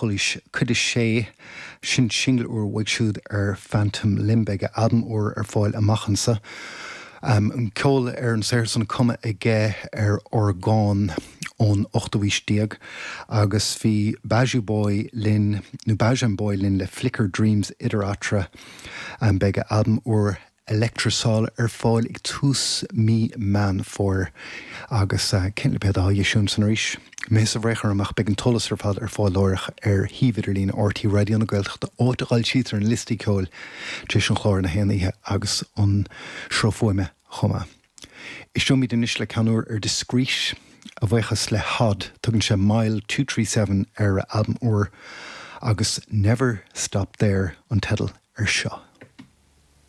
Chulaois, cuid a sé, sin singil úr uaidh siúd ar Phantom Limb. Beidh a albam úr ar fáil amach anso. An ceol ar an saothar san cumtha aige ar orgán ón ochtú aois déag agus bhí Bijou Boy linn, nó Bajan Boy linn le Flicker Dreams idir eatarthu. Beidh a albam úr Electrosol ar fáil ag tús mí Meán Fómhair agus cén lipéad atá á eisiúint san arís? Mo thusa bhréag orm ach beidh an t-eolas ar fad ar fáil láithreach ar shuíomh idirlín RTÉ Raidió na Gaeltachta áit a fhoilsítear na liostaí ceoil tar éis an chláir na haon oíche agus an sruth fuaime chomh maith. Éisteoimid anois le ceann úr ar Discreet, a bhuíochas le Hod, tugann sé Mile 237 ar a albam úr agus Never Stop There an teideal ar seo.